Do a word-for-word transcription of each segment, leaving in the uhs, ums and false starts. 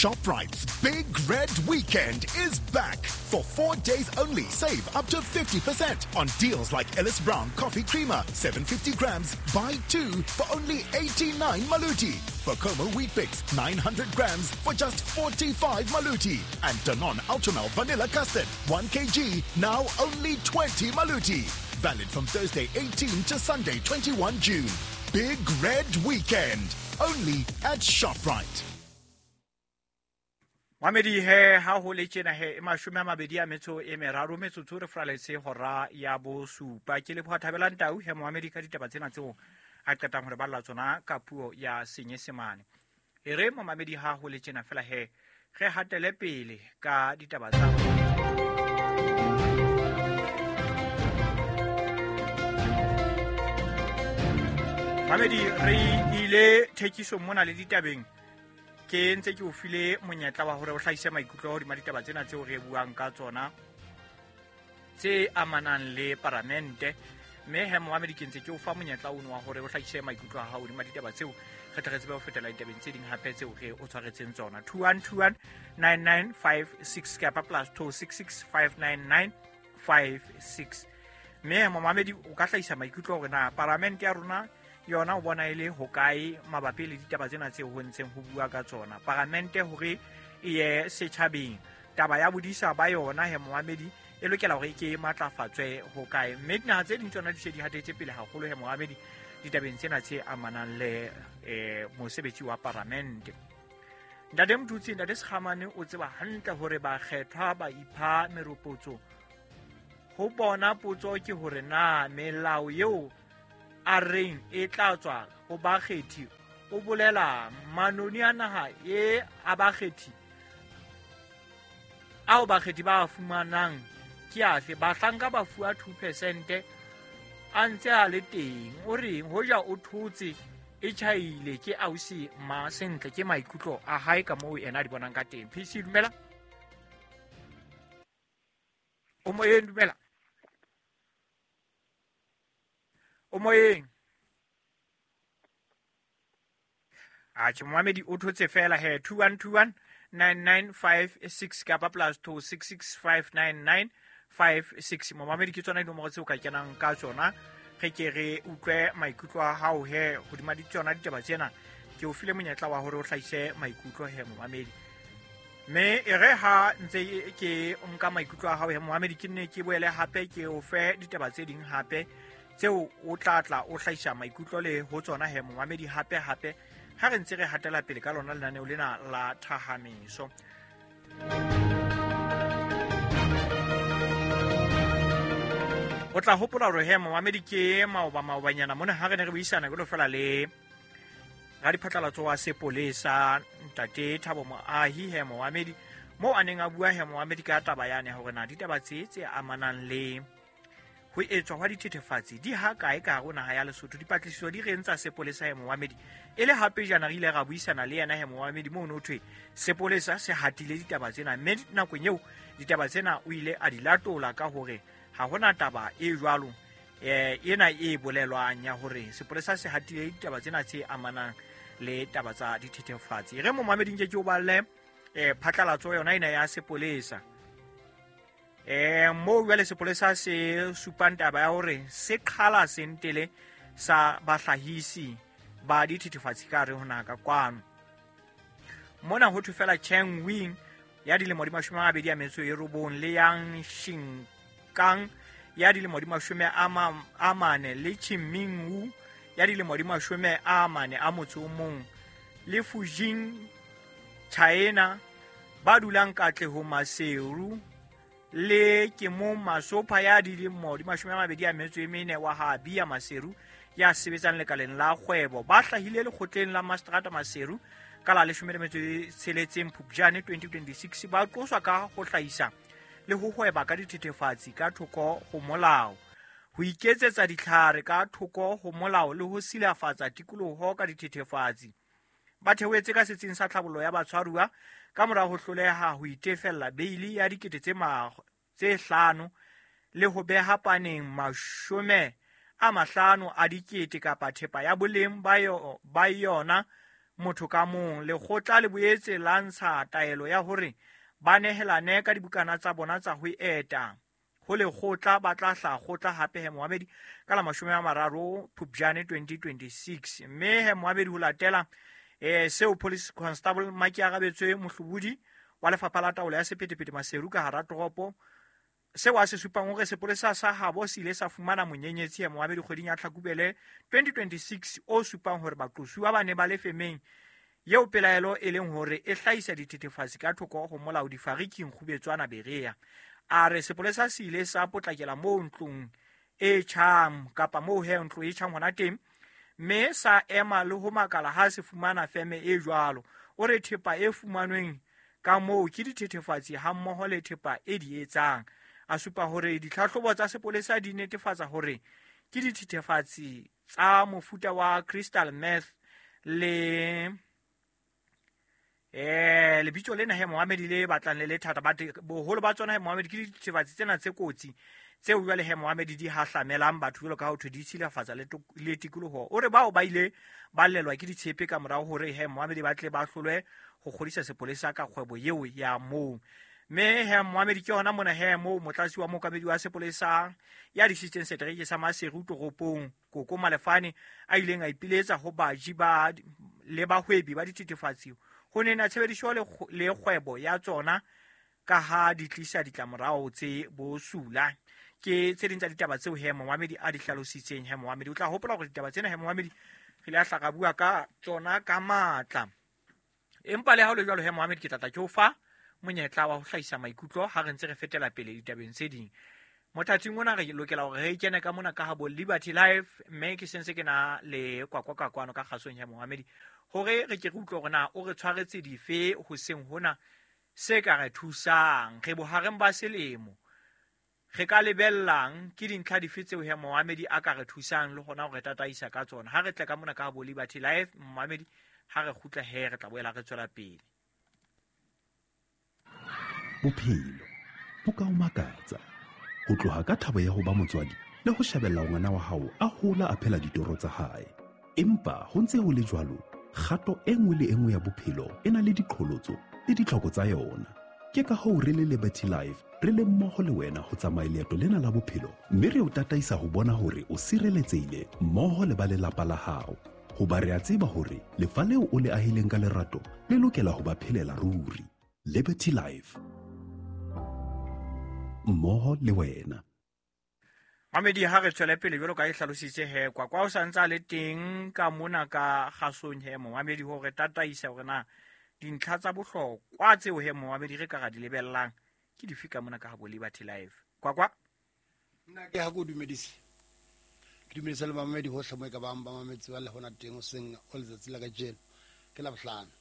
ShopRite's Big Red Weekend is back. For four days only, save up to fifty percent on deals like Ellis Brown Coffee Creamer, seven hundred fifty grams, buy two for only eighty-nine Maluti. Bokomo Weet-Bix, nine hundred grams for just forty-five Maluti. And Danone Ultramel Vanilla Custard, one kilogram, now only twenty Maluti. Valid from Thursday eighteenth to Sunday twenty-first June. Big Red Weekend, only at ShopRite. Mamedi he ha ho le tjena he e mashome a mabedi a metso e meraro metsotso re fraletse hora ya bosupa. Ke leboha Thabelang Tau he Mohamedi ka ditaba tsena tseo a qetang hore balla tsona ka puo ya Senyesemane. E re Mohamedi ha ho le tjena fela he re hatele pele ka ditaba tsa Mohamedi. Re ile thekisong mona le ditabeng. Ke ntse ke o file monyetla wa hore o hlahise maikutlo hodima ditaba tsena tseo re buang ka tsona tse amanang le paramente. Mme he Mohamedi ke ntse ke o fa monyetla ono wa hore o hlahise maikutlo a hao hodima ditaba tseo re tle re tsebe ho fetela ditabeng tse ding hape tseo re o tshwaretseng tsona. two one two one nine nine five six kapa plus two six six five nine nine five six. Mme Mohamedi o ka hlahisa maikutlo hore na paramente ya rona yona o bona e le hokae mabapi le ditaba tsena tseo ho ntseng ho bua ka tsona. Paramente hore e ye setjhabeng, taba ya bodisa ba yona he Mohamedi e lokela hore e ke matlafatswe hokae. Mme dinaha tse ding tsona di se di hatetse pele haholo he Mohamedi ditabeng tsena tse amanang le eh, mosebetsi wa paramente. Ntate Mthutsi, Ntate Sekgamane o tseba hantle hore bakgethwa ba ipha meropotso. Ho bona potso ke hore na melao eo a reng e tla tswa ho bakgethi o bolela manoni a naha e a bakgethi ao bakgethi ba fumanang ke afe. Bahlanka ba fuwa two percent a ntse a le teng. O reng hoja o thotse e tjhaile ke ausi ma sentle ke maikutlo a hae ka moo yena a di bonang ka teng. P C dumela. O moyeng dumela. O moyeng. Atjhe Mohamedi o thotse fela he two one two one nine nine five six kapa plus two six six five nine nine five six. Mohamedi ke tsona dinomoro tseo ka kenang ka tsona re ke re utlwe maikutlo a hao he hodima di tsona ditaba tsena. Ke o file monyetla wa hore o hlahise maikutlo he Mohamedi. Mme e re ha ntse ke nka maikutlo a hao he Mohamedi ke nne ke boele hape ke o fe ditaba tse ding hape tseo o tla tla o hlahisa maikutlo le ho tsona he Mohamedi hape hape ha re ntse re hatela pele ka lona lenaneo lena la Thahamiso. O tla hopola hore he Mohamedi ke maoba maobanyana mona ha re ne re buisana ke lo fela le radiphatlalatso wa sepolesa Ntate Thabo Moahi he Mohamedi moo a neng a bua he Mohamedi ka taba yane hore na ditaba tse tse amanang le ho etswa hwa dithethefatsi di ha kae ka hare ho naha ya Lesotho. Dipatlisiso di re ntsa sepolesa he Mohamedi e le hape jana re ile ra buisana le yena he Mohamedi moo no thwe sepolesa se hatile ditaba tsena, mme nakong eo ditaba tsena o ile a di latola ka hore ha hona taba e jwalo eh ena e bolelwang ya hore sepolesa se hatile ditaba tsena tse amanang le taba tsa dithethefatsi. Re Mohamedi nke ke o balle eh phatlalatso yona ena ya sepolesa. Eh mo jwale sepolesa se supang taba ya hore se qhala sentele sa bahlahisi ba dithethefatsi ka re ho naha ka kwano. Mona ho thwe fela Cheng Wing ya dilemo di mashome a mabedi a metso e robong le Yang Xinkang ya dilemo di mashome a mane le Chiming Wu ya dilemo di mashome a mane a motso o mong le Fujing China ba dulang Katlehong Maseru le ke mo Masopha ya dilemo di mashome a mabedi a metso e mene wa ha Bia Maseru ya sebetsang lekaleng la kgwebo ba hlahile lekgotleng la Mastrata Maseru ka la leshome le metso e tsheletseng Phupjane twenty twenty-six ba qoswa ka ho hlahisa le ho hweba ka dithethefatsi ka thoko ho molao, ho iketsetsa ditlhare ka thoko ho molao le ho silafatsa tikoloho ka dithethefatsi. Ba theohetse ka setsing sa tlhabollo ya batshwaruwa ka mora ho hloleha ho itefella beili ya dikete tse tse hlano le ho beha paneng mashome a mahlano a dikete kapa thepa ya boleng ba yona motho ka mong. Lekgotla le boetse la ntsha taelo ya hore ba nehelane ka dibukana tsa bona tsa ho eta ho lekgotla, ba tla hla kgotla hape he moamedi ka la mashome a mararo Phupjane twenty twenty-six. Mme he moamedi ho latela eh seo Police Constable Makiarabetswe Mohlobodi wa lefapha la taolo ya sephethephethe Maseru ka hara toropo, seo a se supang hore sepolesa sa habo se ile sa fumana monyenyetsi ya moamedi kgweding ya Tlhakubele twenty twenty-six o supang hore baqosuwa ba ne ba le femeng eo pelaelo e leng hore e hlahisa dithethefatsi ka thoko ho molao difariking Kgubetswana Berea. A re sepolesa se ile sa potlakela moo ntlong e tjhang kapa moo he ntlo e tjhang hona teng, mme sa ema le ho makala ha se fumana feme e jwalo. O re thepa e fumanweng ka moo ke dithethefatsi hammoho le thepa e di etsang. A supa hore ditlhahlobo tsa sepolesa di netefatsa hore ke dithethefatsi tsa mofuta wa crystal meth le eh lebitso lena he Mohammed le batlang le le thata, but boholo ba tsona he Mohammed ke dithethefatsi tsena tse kotsi tseo jwale he Mohammed di hahlamelang batho jwalo ka ho thwe di tshilafatsa le le tikoloho. O re bao ba ile ba llelwa ke ditshepe ka morao hore he Mohammed ba tle ba hlolwe ho kgodisa sepolesa ka kgwebo eo ya moo. Mme he Mohammed ke hona mona he moo motlatsi wa mookamedi wa sepolesa ya disitseng setereke sa Maseru toropong Koko Malefane a ileng a ipiletsa ho baji ba le bahwebi ba dithethefatsi ho nena tshebediso le le kgwebo ya tsona ka ha di tlisa ditlamorao tse bosula. Ke tse ding tsa ditaba tseo he Mohammed a di hlalositseng. He Mohammed o tla hopola hore ditaba tsena he Mohammed re ile a hla ka bua ka tsona ka matla, empa le ha ho le jwalo he Mohammed ke tla tla ke o fa monyetla wa ho hlahisa maikutlo ha re ntse re fetela pele ditabeng tse ding. Mothating ona re lokela hore re kene ka mona ka habo Liberty Life, mme ke sentse ke na le kwakwa ka kwano ka kgasong ya Mohammed hore re ke re utlwe hore na o re tshwaretse dife hoseng hona se ka re thusang. Re bohareng ba selemo, re ka lebellang ke dintlha dife tseo he Mohammed a ka re thusang le hona hore tataisa ka tsona. Ha re tle ka mona ka habo Liberty Life Mohammed, ha re kgutla he re tla boela re tswela pele. Bophelo bo ka o makatsa ho tloha ka thabo ya ho ba motswadi le ho shebella ngwana wa hao a hola a phela ditoro tsa hae. Empa ho ntse ho le jwalo, kgato e nngwe le e nngwe ya bophelo e na le diqholotso le ditlhoko tsa yona. Ke ka hoo re le Liberty Life re le mmoho le wena ho tsamaya leeto lena la bophelo, mme re o tataisa ho bona hore o sireletsehile mmoho le ba lelapa la hao. Hoba re a tseba hore lefa leo o le ahileng ka lerato le lokela ho ba phelela ruri. Liberty Life, mmoho le wena. Mamedi, ha re tswele pele jwalo ka e hlalositse he kwakwa o sa ntse a le teng ka mona ka kgasong he Mohammed hore tataisa hore na dintlha tsa bohlokwa tseo he Mohammed re ka ra di lebellang ke dife ka mona ka habo Liberty Life. Kwakwa, nna ke ha go dumedise, ke dumedisa le mamedi hohle mo e ka bang ba mametse ba le hona teng hoseng o letsatsi la kajeno ke Labohlano,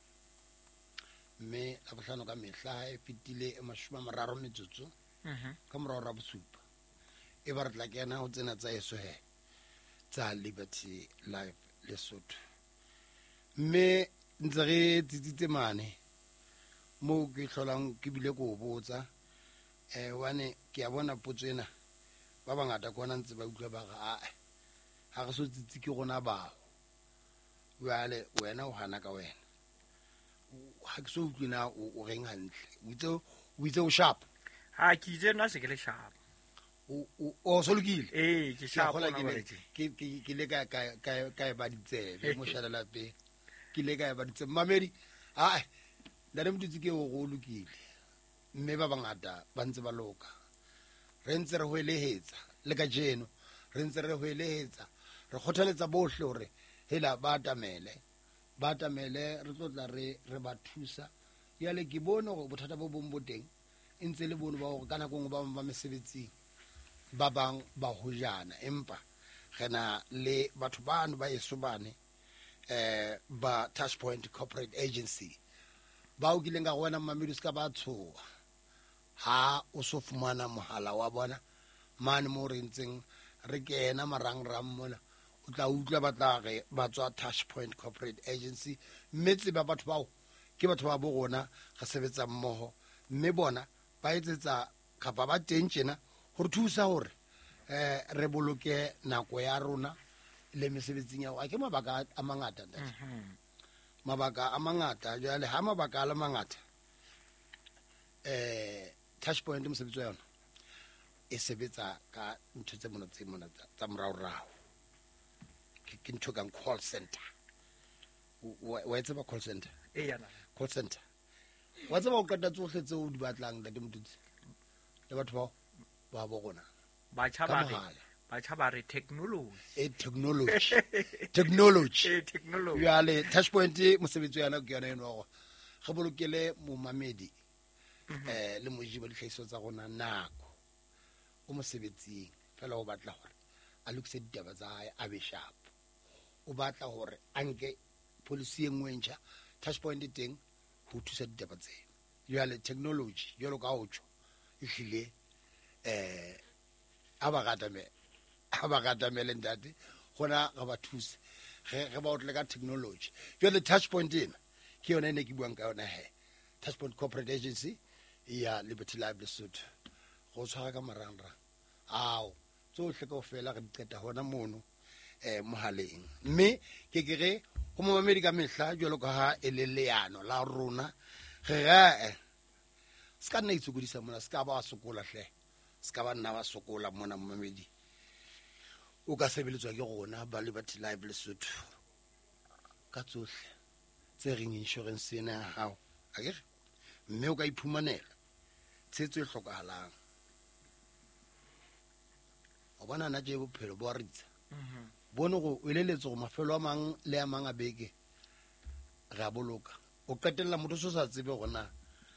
mme Labohlano ka mehla e fetile e mashome a mararo metsotso ka morao ra bosupa e ba re tla kena ho tsena tsa eso he tsa Liberty Life Lesotho. Mme ntse re tsitsitse mane moo ke hlolang ke bile ko botsa eh hobane ke a bona potso ena ba bangata ke ona ntse ba utlwa ba re ae ha re so tsitsi ke rona bao. Jwale wena o hana ka wena, ha ke so utlwe na o reng hantle, o itse o itse o sharp. Ha ke itse nna se ke le sharp. O o o so lokile. Eh ke sharp ke ke ke le ka ka ka ka ba ditsebe mo shala lapeng. Ke le ka ba ditsebe mamedi ha ntate Motutsi ke o go lokile, mme ba bangata ba ntse ba loka. Re ntse re hoelehetsa le kajeno, re ntse re hoelehetsa, re kgothaletsa bohle hore hela ba atamele, ba atamele re tlo tla re re ba thusa. Jwale ke bone hore bothata bo bong bo teng e ntse le bone ba hore ka nako nngwe ba bang ba mesebetsing, ba bang ba hojana, empa re na le batho bano ba eso bane eh ba Touchpoint Corporate Agency bao kileng ka go wena mamedi o se ka ba tshoha ha o so fumana mohala wa bona mane mo re ntseng re kena marangrang mona, o tla utlwa ba tla re ba tswa Touchpoint Corporate Agency. Mme tseba batho bao ke batho ba bo rona re sebetsa mmoho, mme bona ba etsetsa kapa ba teng tjena ho re thusa hore eh re boloke nako ya rona le mesebetsing ya. A ke mabaka a mangata ntate. Mabaka a mangata jwale ha mabaka a le mangata eh touch point mosebetsi wa yona e sebetsa ka ntho tse mona tse mona tsa moraorao. Ke ntho kang call center. Wa tseba call center? E yana. Call center. Wa tseba o qeta tsohle tseo o di batlang ntate Motutsi. Le batho bao ba bo rona. Batjha ba re batjha ba re technology. E technology. Technology. E technology. Jwale touch point mosebetsi wa yona ke yona eno hore re bolokele momamedi eh le moji ba ditlhahiso tsa rona nako. O mosebetsing fela o batla hore a lokise ditaba tsa hae a be sharp. O batla hore a nke policy e nngwe e ntjha touch point e teng ho thusa ditaba tsena. Jwale technology jwalo ka ho tjho ehlile eh a ba ratamele a ba ratamele ntate gona re ba thuse re re ba otle ka technology. Jwale touch point ena ke yona e ne ke buang ka yona he. Touch point corporate agency ya Liberty Live Lesotho go tshwara ka marangrang ao tsohle kaofela re di qeta hona mono eh mohaleng mme ke ke re ho momamedi ka mehla jwalo ka ha e le leano la rona re re se ka nna itshokodisa mona se ka ba sokola hle se ka ba nna ba sokola mona momamedi o ka sebeletswa ke rona ba Liberty Live Lesotho ka tsohle tse reng insurance ena ya hao akere mme o ka iphumanela tshetso e hlokahalang. O bona na je bophelo bo ritsa bone go o eleletse go mafelo a mang le a mang a beke re a boloka o qetella motho so sa tsebe gona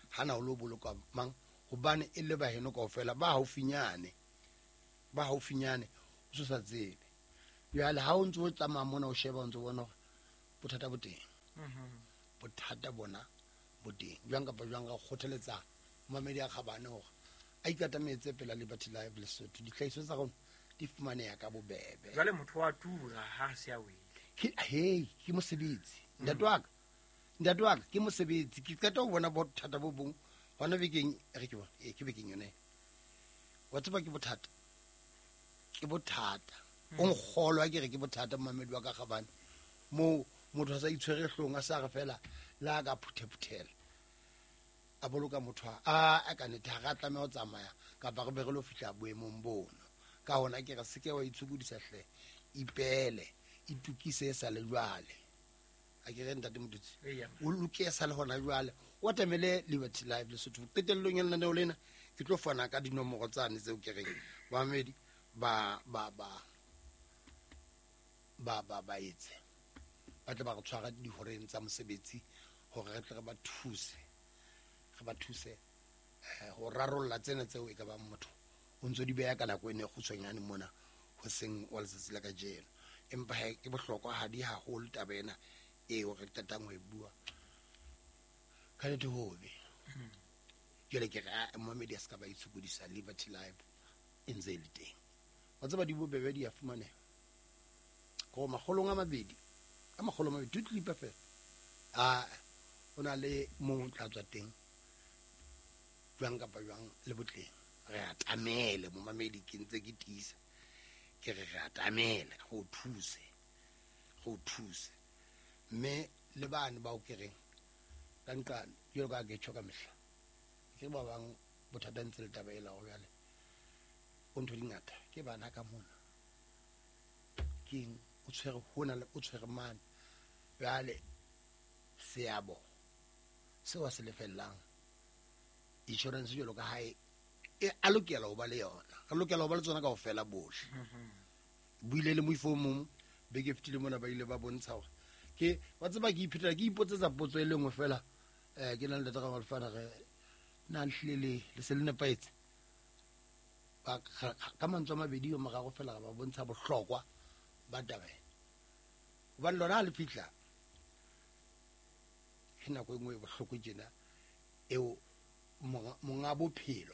hana o lo boloka mang hobane e le ba heno kaofela ba haufinyane ba haufinyane o so sa tsebe. Jwale ha o ntse o tsamaya mona o sheba o ntse bona hore bothata bo teng bothata bona bo teng jwang kapa jwang ka kgothaletsa mamedi a kgabane hore a ikatametse pela Liberty Live Lesotho ditlhahiso tsa rona di fumaneha ka bobebe. Jwale motho wa tura ha se a wele ke hey ke mosebetsi ntate wa ka ntate wa ka ke mosebetsi ke qeta ho bona bothata bo bong hona bekeng re ke bona e ke bekeng yone wa tseba ke bothata ke bothata o nkgolwa ke re ke bothata mamedi wa ka kgabane mo motho a sa itshwere hlong a sa re fela la ka phuthe-phuthela a boloka motho a a ka nete ha ra tlameha ho tsamaya kapa re be re lo fihla boemong bono. Ka hona ke re se ke wa itshokodisa hle ipele itukise sa le jwale a ke re ntate Motutsi o loke sa le hona jwale o atamele Liberty Live Lesotho. Qetellong ya lenaneo lena ke tlo fana ka dinomoro tsane tseo ke reng bamamedi ba ba ba ba ba ba etse ba tle ba re tshwara dihoreng tsa mosebetsi hore re tle re ba thuse re ba thuse ho rarolla tsena tseo e ka bang motho o ntso di beha ka nako ene e kgutshwanyane mona ho seng wa letsatsi la kajeno. Empa he ke bohlokwa ha di haholo taba ena eo re qetang ho e bua ka nnete hobe. Jwale ke re momamedi a se ka ba itshokodisa Liberty Live e ntse e le teng. Wa tseba di bobebe di a fumaneha ko makgolong a mabedi a makgolo a mabedi two clip fela a o na le mong tla tswa teng jwang kapa jwang le botleng re atamele momamedi ke ntse ke tiisa ke re re atamele go thuse go thuse mme le bane ba o kereng ka nqane jwalo ka ke tjho ka mehla ke ba bang bothata ntse le taba ela hore jwale o ntho di ngata ke bana ka mona keng o tshwere hona le o tshwere mane jwale seabo seo a se lefellang insurance jwalo ka hae e a lokela ho ba le yona re lokela ho ba le tsona kaofela bohle. Buile le moifo mong beke fetile mona ba ile ba bontsha hore ke wa tseba ke iphetela ke ipotsetsa potso e le nngwe fela eh ke na le ntate Ramalefana re na le le le se le nepahetse ba ka mantswe a mabedi yo morago fela ba bontsha bohlokwa ba taba ena hobane lona ha le fihla ke nako e nngwe e bohloko tjena eo monga bophelo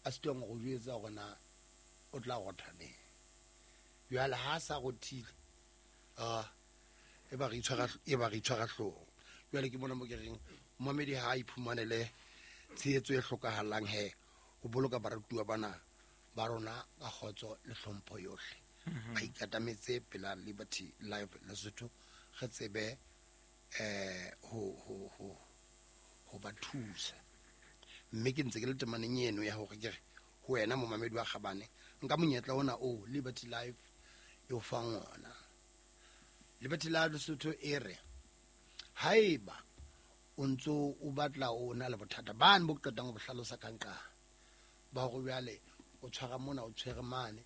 a sitwang go jwetsa hore na o tla rotha neng. Jwale ha sa rothile ah e ba re itshwara e ba re itshwara hlooho. Jwale ke bona mo ke reng momamedi ha a iphumanele tshehetso e hlokahalang he ho boloka baratuwa bana ba rona ka kgotso le hlompho yohle. Ba ikatametse pela Liberty Live Lesotho re tsebe eh ho ho ho ho ba thusa. Mme ke ntse ke le temaneng eno ya hore ke re ho wena momamedi wa Kgabane, nka monyetla ona o Liberty Life e o fang ona. Liberty Life Lesotho e re haeba o ntso o batla o na le bothata bane bo qetang ho bo hlalosa ka nqa ba hore jwale o tshwara mona o tshwere mane,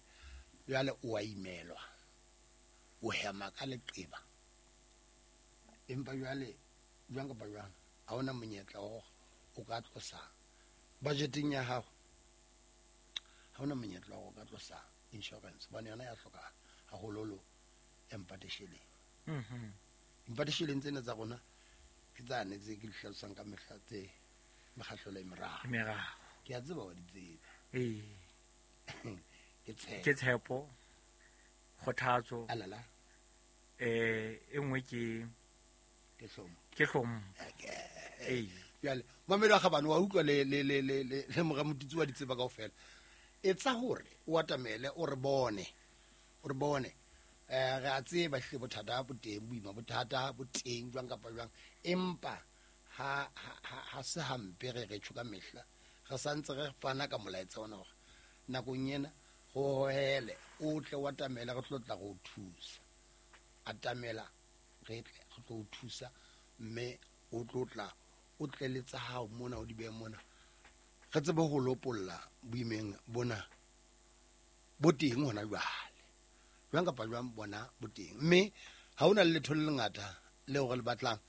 jwale o a imelwa, o hema ka leqeba, empa jwale jwang kapa jwang ha ona monyetla wa hore o ka tlosa budgeteng ya hao, ha ona monyetla wa hore o ka tlosa insurance hobane yona ya hlokahala haholoholo ya mpatesheleng. Mhm. Mpatesheleng tsena tsa rona ke tsane tse ke di hlalosang ka mehla tse mekgahlelo e meraro. Meraro. Ke a tseba wa di tseba. Ee. Ke tshepo. Ke tshepo, kgothatso. Alala. Eh, e nngwe ke Ke hlomo. Ke hlomo. Ee. Jwale mamedi wa Kgabane wa utlwa le le le le le le mora Motutsi wa di tseba kaofela. Etsa hore o atamele o re bone. O re bone. Eh re a tseba hle bothata bo teng, boima bothata bo teng jwang kapa jwang, empa ha ha ha se hampe re re tjho ka mehla. Re santse re fana ka molaetsa ona hore nakong ena go hohele o tle o atamele re tlo tla go thusa. Atamela re tle re tlo o thusa, mme o tlo tla o tle le tsa hao mona o di behe mona, re tsebe ho lopolla boimeng bona bo teng hona jwale. Jwang kapa jwang bona bo teng, mme ha hona le letho le lengata leo re le batlang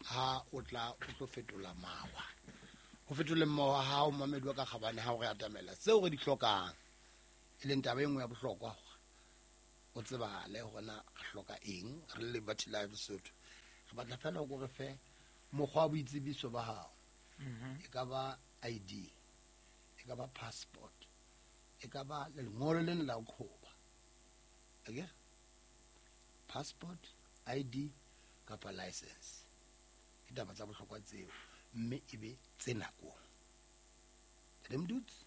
ha o tla o tlo fetola mawa. Ho fetoleng mawa ha o mamedi wa ka Kgabane ha o re atamela tseo re di hlokang, e leng taba e nngwe ya bohlokwa hore o tsebahale hore na re hloka eng re le Liberty Life Lesotho. Re batla feela o re fe mokgwa wa boitsebiso ba hao. Mhm. E ka ba I D, e ka ba passport, e ka ba lengolo lena la ho qhoba. Akere? Passport, I D kapa license. Ke taba tsa bohlokwa tseo, mme e be tse nakong. Ntate Motutsi?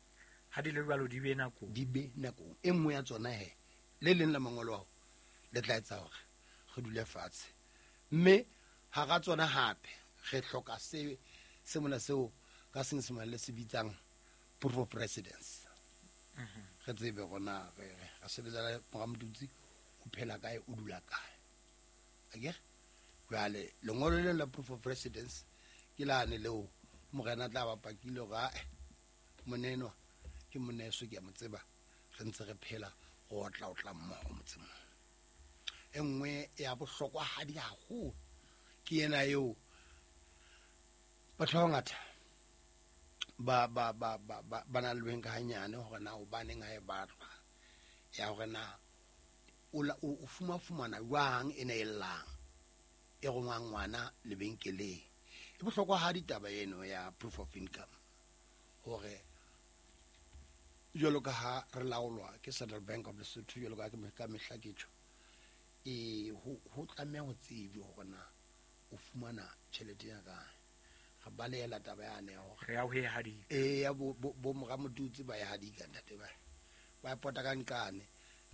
Ha di le jwalo di be nakong. Di be nakong. E nngwe ya tsona he, le leng la mangolo ao le tla etsa hore re dule fatshe. Mme hara tsona hape re hloka se se mona seo ka Senyesemane le se bitsang proof of residence. Mhm. Re tsebe hore na re re sebetsa le mora Motutsi, o phela kae, o dula kae. Akere? Jwale lengolo lena la proof of residence ke lane leo morena tla ba pakile hore ae monenwa ke moneso ke a mo tseba, re ntse re phela go otla otla mmoho motseng. E nngwe ya bohlokwahadi haholo ke ena eo batho ba bangata ba ba ba ba ba ba na le beng ka hanyane hore na hobaneng ha e batlwa, ya hore na o la, o, o fuma fumana jwang ena e llang e rongwang ngwana lebenkeleng. E bohlokwahadi taba eno ya proof of income, hore jwalo ka ha re laolwa ke Central Bank of Lesotho, jwalo ka ka mehla ke tjho, e ho, ho tlameha ho tsejwe hore na o fumana tjhelete ya kae. Re balehela taba yane ya hore Re ya ho e hadika. E ya bo, bo, bo mora Motutsi ba e hadika ntate ba. Ba e pota ka nqane.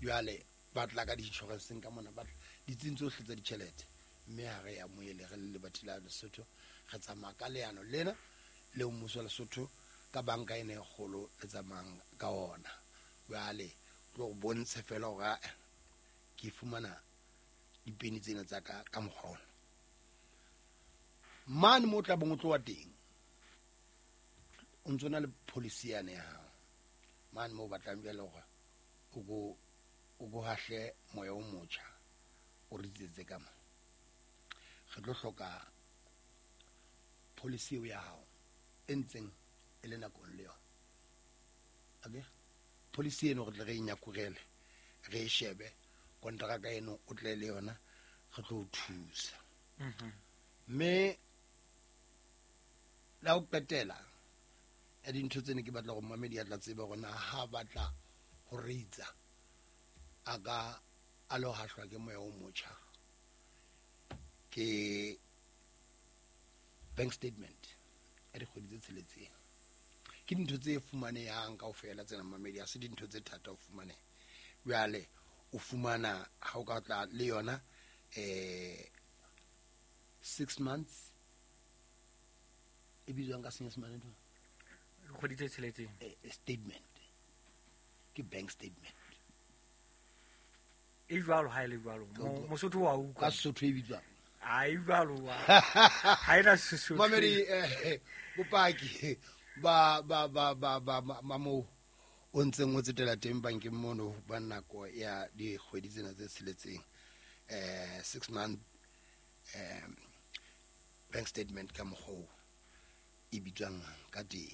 Jwale ba tla ka di-insurance-eng ka mona, ba tla ditsing tsohle tsa ditjhelete. Mme ha re ya amohele re le Liberty Life Lesotho, re tsamaya ka leano lena leo mmuso wa Lesotho ka banka ena e kgolo le tsamayang ka ona. Jwale tlo go bontshe fela hore ae, ke fumana dipeni tsena tsa ka ka mokgwa ona. Mane mo tla bong o tloha teng, o ntso na le policy yane ya hao. Mane mo batlang jwale hore o ko, o ko hahle moya o motjha, o ritsetse ka mo. Re tlo hloka policy eo ya hao e ntseng e le nakong le yona. Akere? Policy eno re tle re e nyakurele, re e shebe, kontraka eno o tle le yona, re tlo o thusa. Mhm. Mme la ho qetela ya dintho tsene ke batla hore momamedi a tla tsebe hore na ha batla ho reitsa a ka a lo hahlwa ke moya o motjha, ke bank statement ya dikgwedi tse tsheletseng. Ke dintho tse fumanehang kaofela tsena momamedi, ha se dintho tse thata ho fumaneha. Jwale o fumana ha o ka tla le yona, eh, Six months e bitswang ka senyesemane ntho? Dikgwedi tse tsheletseng. Eh, eh, statement ke bank statement. E jwalo ha e le jwalo. Ka utlwa. Mosotho wa utlwa. Ka Sesotho e bitswang? Ha e jwalo ha ena Sesotho. Mamedi, eh, bopaki ba ba ba ba ba ba moo o ntseng o tsetela teng bankeng mono ba nako ya dikgwedi tsena tse tsheletseng, eh, six month, eh, bank statement ka mokgwa oo e bitswang ka teng.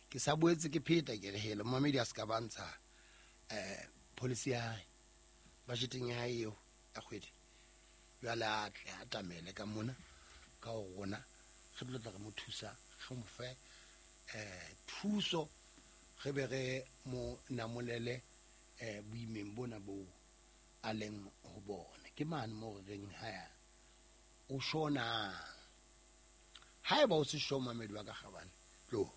Ke sa boetse ke pheta ke re hele momamedi a se ka bantsha, eh, policy ya hae, budgeting ya hae eo ya kgwedi. Jwale a tle a atamele ka mona ka ho rona, re tlo tla re mo thusa, re mo fe, eh, thuso, re be re mo namolele, eh, boimeng bona bo a leng ho bona. Ke mane moo re reng ha ya o shona. Haeba o se sure momamedi wa ka kgabane, tlo.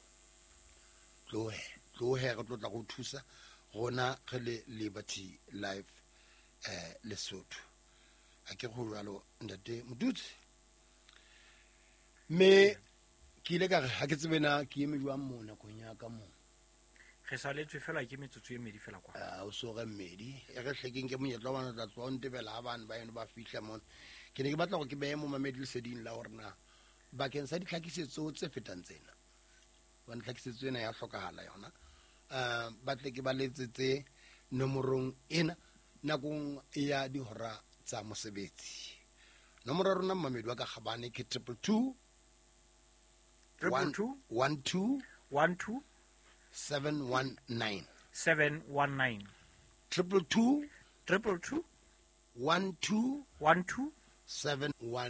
Tlohe, tlohe re tlo tla go thusa rona re le Liberty Life, eh, Lesotho. A ke go jwalo ntate Motutsi. Mme ke ile ka re ha ke tsebe na ke eme jwang moo nakong ya ka moo. Re saletswe fela ke metsotso e mmedi fela kwa. Ah, o so re mmedi. E re hlekeng ke monyetla wa bana tla tloha o ntebela ha bana ba eno ba fihla mona. Ke ne ke batla hore ke behe momamedi leseding la hore na bakeng sa ditlhakisetso tse fetang tsena, hobane tlhakisetso ena ya hlokahala yona, eh, ba tle ke ba letsetse nomorong ena nakong ya dihora tsa mosebetsi. Nomoro ya rona momamedi wa ka kgabane ke triple two, Triple one, two, one two, one two, seven one nine. seven one nine. Triple two, Triple two, one two, one two, seven one